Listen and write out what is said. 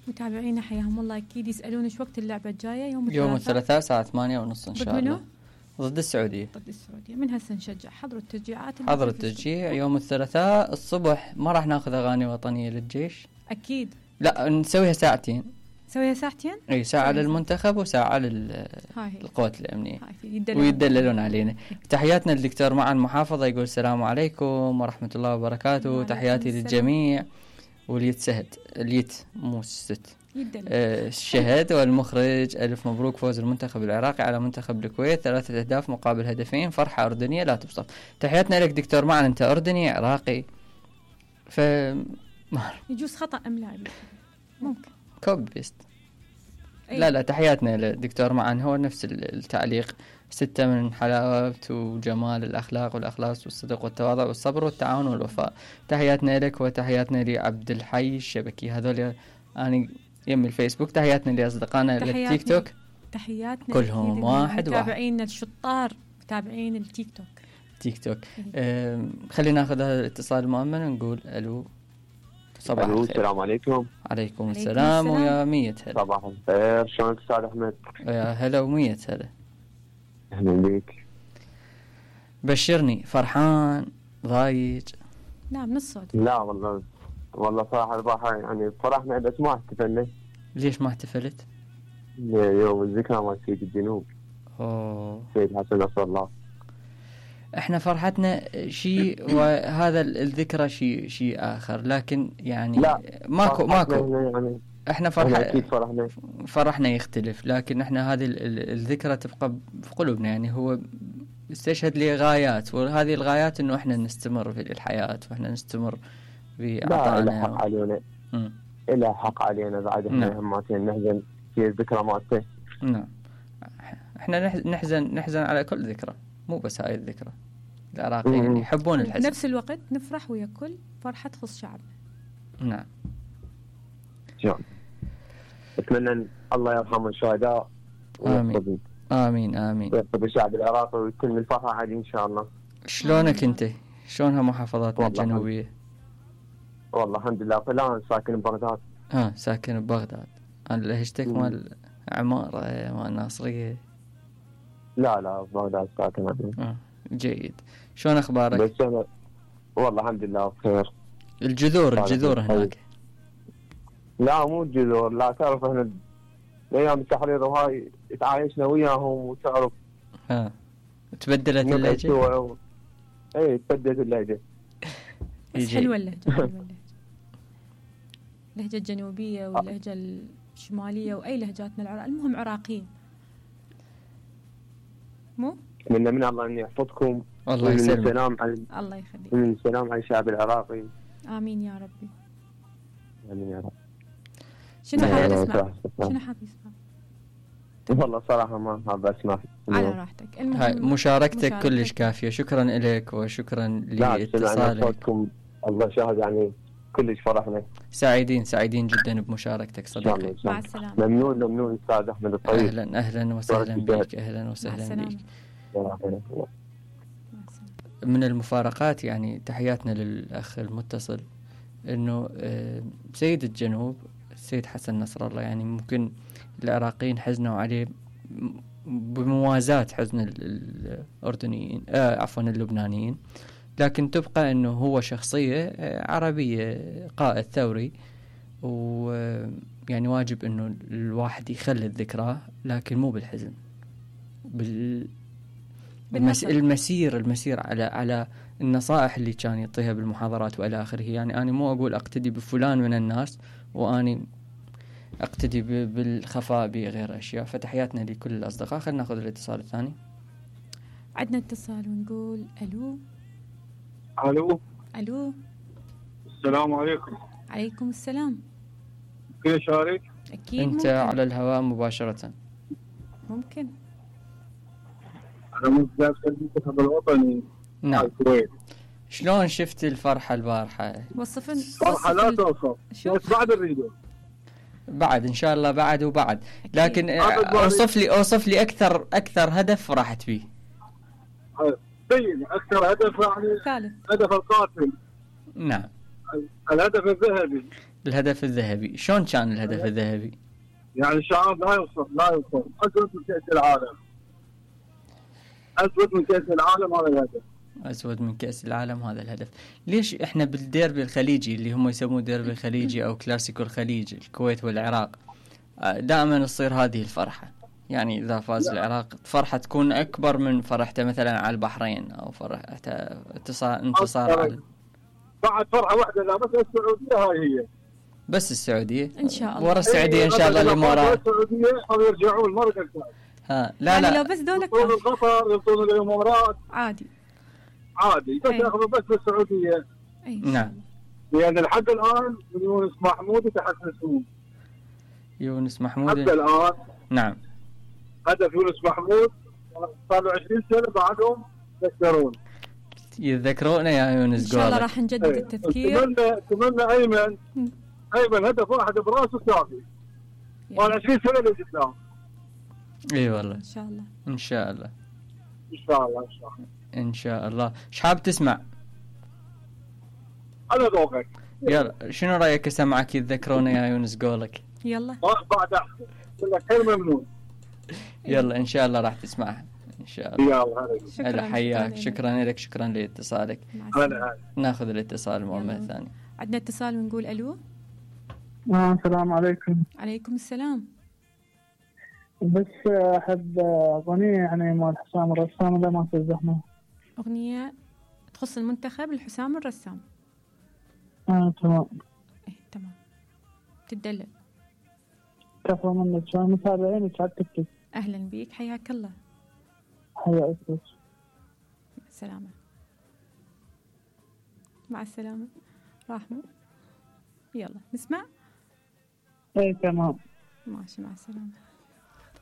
متابعينا حياهم الله أكيد يسألون إيش وقت اللعبة الجاية. يوم الثلاثاء الساعة 8:30 إن شاء الله. ضد السعودية. من هسه نشجع. حضروا التشجيعات. حضروا التشجيع يوم الثلاثاء الصبح. ما راح ناخذ أغاني وطنية للجيش أكيد. لا نسويها ساعتين. نسويها ساعتين. أي ساعة للمنتخب وساعة للقوات الأمنية. ويدللون علينا. تحياتنا للدكتور معن محافظة يقول السلام عليكم ورحمة الله وبركاته. تحياتي للجميع. واليت سهد اليت مو الست. الشهد والمخرج ألف مبروك فوز المنتخب العراقي على منتخب الكويت 3 أهداف مقابل هدفين. فرحة أردنية لا توصف. تحياتنا لك دكتور معن. أنت أردني عراقي يجوز خطأ أم لا ممكن كوب بيست. لا تحياتنا للدكتور معن. هو نفس التعليق 6 من حلاوة وجمال الأخلاق والأخلاص والصدق والتواضع والصبر والتعاون والوفاء. تحياتنا لك وتحياتنا لعبد الحي الشبكي. هذول أنا يم الفيسبوك. تحياتنا لأصدقائنا للتيك توك. تحياتنا كلهم واحد. متابعين الشطار متابعين التيك توك. خلينا ناخذ هذا الاتصال المؤمن ونقول ألو. صباح الخير. السلام عليكم. عليكم السلام ويا مية هلا. صباح الخير. شلونك أستاذ أحمد؟ يا هلا ومية هلا. أهلا بك. بشرني فرحان ضايج؟ لا من الصوت. لا والله صراحة البارحة يعني فرحنا بس ما احتفلنا. ليش ما احتفلت؟ يوم الذكرى مال سيد الجنوب. سيد حسن نصر الله. احنا فرحتنا شيء وهذا الذكرى شيء آخر. لكن يعني لا ماكو يعني احنا فرحنا يختلف. لكن احنا هذه الذكرى تبقى في قلوبنا. يعني هو استشهد لي غايات وهذه الغايات انه احنا نستمر في الحياة واحنا نستمر في عطائنا. لا حق علينا. إلا حق علينا بعد احنا هماتين نحزن في الذكرى مالته. نعم احنا نحزن على كل ذكرى مو بس هاي الذكرى. العراقيين يحبون الحزن. نفس الوقت نفرح ويا كل فرحة تخص شعبنا. نعم. أتمنى أن الله يرحم الشهداء. آمين آمين آمين. ويحفظ الشعب العراقي ويكون الفرحة عادي إن شاء الله. شلونك أنت؟ شلونها محافظاتنا الجنوبية؟ والله الحمد لله. فلان ساكن ببغداد. ساكن ببغداد. أنا لهجتك مال عمارة مال ناصرية. لا ببغداد ساكن. جيد. شلون أخبارك؟ والله الحمد لله بخير. الجذور هناك. لا مو الجذور. لا تعرف احنا ايام التحرير وهاي تعايشنا وياهم وتعرف. تبدلت اللهجة. اي تبدلت اللهجة. بس حلوة اللهجة. اللهجة الجنوبية واللهجة الشمالية واي لهجاتنا العراق. المهم عراقيين. مو من الله ان يحفظكم. الله يسلمك. الله يخليك. السلام على الشعب العراقي. آمين يا ربي. آمين يا رب. شنو حاب تسمع؟ والله صراحة ما حاب أسمع. على راحتك. هاي مشاركتك كلش كافية. شكرا لك وشكرا لاتصالك. الله شاهد يعني كلش فرحنا. سعيدين جدا بمشاركتك صديقي. مع السلامة. ممنون أستاذ أحمد الطيب. أهلا وسهلا بك. أهلا وسهلا بك. من المفارقات يعني تحياتنا للأخ المتصل إنه سيد الجنوب السيد حسن نصر الله. يعني ممكن العراقيين حزنوا عليه بموازاة حزن الأردنيين عفوا اللبنانيين. لكن تبقى إنه هو شخصية عربية قائد ثوري. ويعني واجب إنه الواحد يخلد ذكراه لكن مو بالحزن. المسير على النصائح اللي كان يعطيها بالمحاضرات وإلى آخره. يعني أنا مو أقول أقتدي بفلان من الناس وأني أقتدي بالخفاء بغير أشياء. فتحياتنا لكل الأصدقاء. خلينا نأخذ الاتصال الثاني. عندنا اتصال ونقول ألو. السلام عليكم. عليكم السلام. كيف شارك؟ أكيد أنت ممكن. على الهواء مباشرة. ممكن. أنا متجاوز المنتخب الوطني. نعم. شلون شفت الفرحة البارحة؟ وصفن. فرحة لا توصف. بس بعد الريدو. بعد إن شاء الله بعد. لكن أوصف لي أكثر هدف فرحت فيه. أكثر هدف يعني ثالث. هدف القاتل. نعم. الهدف الذهبي. الهدف الذهبي شلون كان الهدف الذهبي؟ يعني الشعب لا يوصل أسود من كأس العالم. أسود من كأس العالم هذا الهدف. أسود من كأس العالم هذا الهدف. ليش إحنا بالديربي الخليجي اللي هم يسموه ديربي الخليجي أو كلاسيكو الخليج الكويت والعراق دائما تصير هذه الفرحة؟ يعني إذا فاز العراق فرحة تكون أكبر من فرحته مثلا على البحرين أو فرحته انتصار على بعد فرحة واحدة لا بس السعودية هاي هي. بس السعودية إن شاء الله. ورا السعودية إن شاء الله الإمارات. السعودية هم يرجعون مرة ثانية. لا يعني لا. لو بس دولك يبطون القطر يبطون الإمارات. عادي. بس ياخذوا بس بالسعودية. نعم. لأن لحد الآن يونس محمود يتحسسون. يونس محمود. حتى الآن. نعم. هدف يونس محمود صار له 20 سنة بعدهم يتذكرون يا يونس. إن شاء الله راح نجدد التذكير. تمنى أيمن هدف واحد براسه كافي. وال 20 سنة اللي قدام. اي والله. إن شاء الله. إن شاء الله. إن شاء الله إن شاء الله. إن شاء الله. إيش حاب تسمع؟ على ذوقك. يلا شنو رأيك أسمعك يتذكرون يا يونس قولك؟ يلا. بعد أحسن. لك خير ممنون. يلا إن شاء الله راح تسمعها. إن شاء الله. يلا هلا حياك. شكرا لك. شكرا لاتصالك. ناخذ الاتصال مرة ثانية. عندنا اتصال ونقول ألو. السلام عليكم. عليكم السلام. بس أحب أغنية يعني مال حسام الرسام إذا ما تزحمه. أغنية تخص المنتخب الحسام الرسام. تمام. تمام. تدلل. كفى منك شو متابعينك على التيك توك. أهلا بيك حياك الله. حياك. مع السلامة. مع السلامة. رحمة. يلا نسمع. تمام. ماشي مع السلامة.